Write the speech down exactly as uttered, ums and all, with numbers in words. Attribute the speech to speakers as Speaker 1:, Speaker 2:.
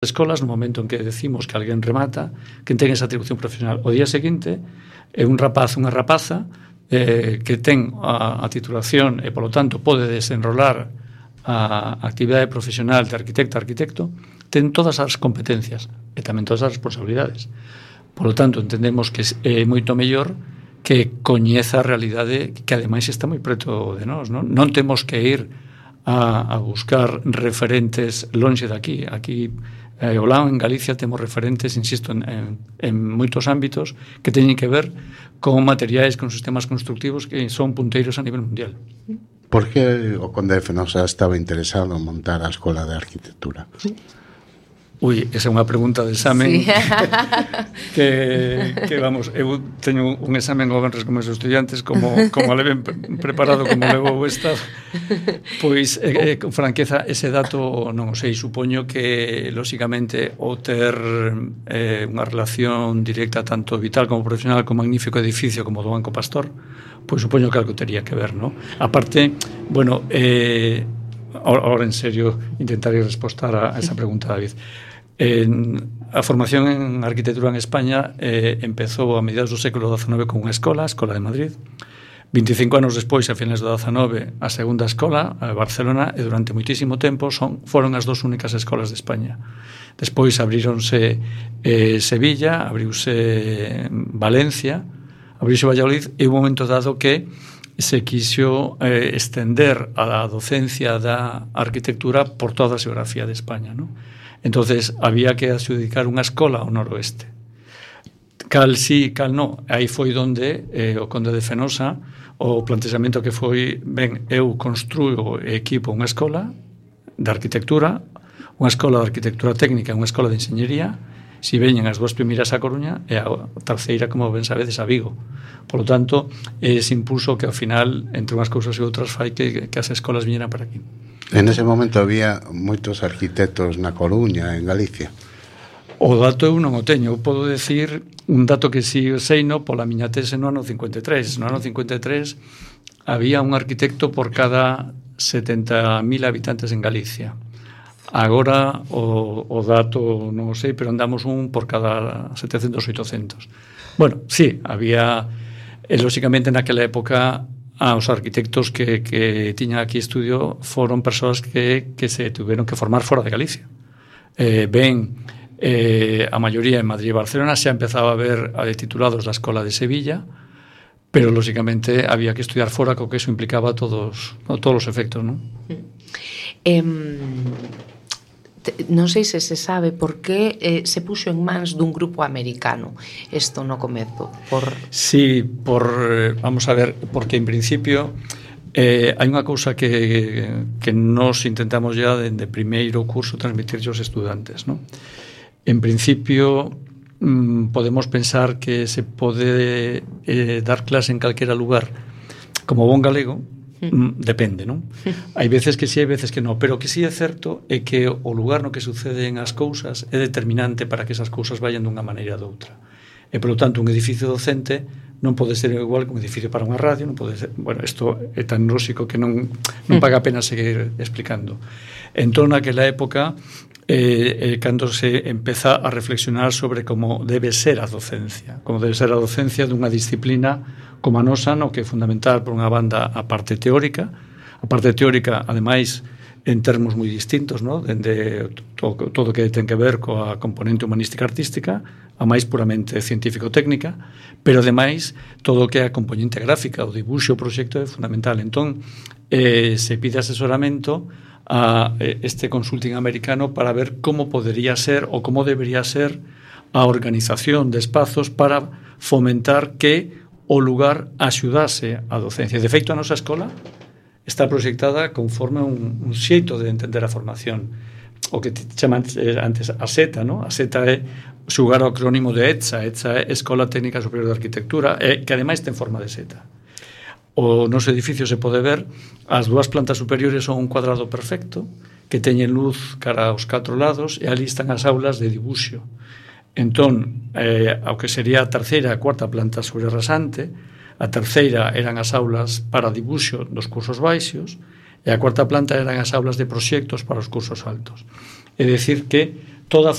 Speaker 1: escolas, no momento en que decimos que alguén remata, que ten esa atribución profesional. O día seguinte, é un rapaz, unha rapaza, eh, que ten a, a titulación e, polo tanto, pode desenrolar a actividade profesional de arquitecta, arquitecto, ten todas as competencias e tamén todas as responsabilidades. Polo tanto, entendemos que é moito mellor que coñeza a realidade que, ademais, está moi preto de nós. Non, non temos que ir a, a buscar referentes lonxe de aquí. Aquí, eh, o lado en Galicia, temos referentes, insisto, en, en, en moitos ámbitos que teñen que ver con materiais, con sistemas constructivos que son punteiros a nivel mundial.
Speaker 2: Por que o Conde de Fenosa estaba interesado en montar a Escola de Arquitectura?
Speaker 1: Sí. Ui, esa é unha pregunta de examen, sí. que, que, vamos, eu teño un examen o venres con meus estudiantes, como, como leven preparado, como levo o estado, pois, eh, con franqueza, ese dato non o sei, supoño que, lóxicamente, o ter eh, unha relación directa, tanto vital como profesional, con magnífico edificio como do Banco Pastor, pois supoño que algo tería que ver, non? A parte, bueno, eh, ahora en serio intentaré respostar a esa pregunta, David. En, a formación en arquitectura en España eh, empezou a mediados do século dezanove con unha escola, a Escola de Madrid. veinticinco anos despois, a finales do dezanove, a segunda escola, a Barcelona, e durante moitísimo tempo son, foron as dos únicas escolas de España. Despois abríronse eh, Sevilla, abriuse Valencia, abriuse Valladolid, e un momento dado que se quixo eh, estender a docencia da arquitectura por toda a xeografía de España, non? Entonces había que adxudicar unha escola ao noroeste. Cal sí, cal no. Aí foi onde eh, o Conde de Fenosa, o plantexamento que foi, ben, eu construo e equipo unha escola de arquitectura, unha escola de arquitectura técnica, unha escola de enxeñería, si veñen as dúas primeiras a Coruña e a terceira, como ben sabedes, a Vigo. Por lo tanto, ese impulso que ao final, entre unhas cousas e outras, fai que, que as escolas viñeran para aquí.
Speaker 2: En ese momento había moitos arquitectos na Coruña, en Galicia.
Speaker 1: O dato eu non o teño. Eu podo decir un dato que si sei no pola miña tese no ano cincuenta e tres. No ano cincuenta e tres había un arquitecto por cada setenta mil habitantes en Galicia. Agora o, o dato non o sei, pero andamos un por cada setecentos, oitocentos. Bueno, sí, había, e, lóxicamente, naquela época, ah, os arquitectos que, que tiñan aquí estudio foron persoas que, que se tuveron que formar fora de Galicia. Eh, ben, eh, a maioría en Madrid e Barcelona xa empezaba a ver a de titulados da Escola de Sevilla, pero, lóxicamente, había que estudiar fora, co que eso implicaba todos, todos os efectos, non?
Speaker 3: Eh, non sei se se sabe por que eh, se puxo en mans dun grupo americano isto no comezo. Por...
Speaker 1: Sí, por, vamos a ver, porque en principio eh, hai unha cousa que, que nos intentamos ya dende primeiro curso transmitir aos estudantes, ¿no? En principio mmm, podemos pensar que se pode eh, dar clase en calquera lugar como bon galego. Mm, depende, non? Hai veces que sí, hai veces que non, pero que sí é certo é que o lugar no que suceden as cousas é determinante para que esas cousas vayan dunha maneira ou doutra. E, polo tanto, un edificio docente non pode ser igual que un edificio para unha radio, non pode ser, bueno, isto é tan lóxico que non, non paga a pena seguir explicando. Entón, naquela época, eh, eh, cando se empeza a reflexionar sobre como debe ser a docencia, como debe ser a docencia dunha disciplina como a nosa, no que é fundamental, por unha banda, a parte teórica, a parte teórica, ademais, en termos moi distintos, no? Dende todo, todo que ten que ver coa componente humanística artística, a máis puramente científico-técnica, pero, ademais, todo o que é a componente gráfica, o dibuixo, o proxecto é fundamental. Entón, eh, se pide asesoramento a este consulting americano para ver como podería ser ou como debería ser a organización de espazos para fomentar que o lugar axudase a docencia. De feito, a nosa escola está proxectada conforme un, un xeito de entender a formación. O que chaman antes a SETA, ¿no? A SETA é xugar ao acrónimo de ETSA. ETSA é Escola Técnica Superior de Arquitectura, e que ademais ten forma de seta. O noso edificio se pode ver, as dúas plantas superiores son un cuadrado perfecto que teñen luz cara aos catro lados, e ali están as aulas de dibuixo. Entón, eh, ao que sería a terceira e a cuarta planta sobre rasante, a terceira eran as aulas para dibuixo dos cursos baixos e a cuarta planta eran as aulas de proxectos para os cursos altos. É dicir que toda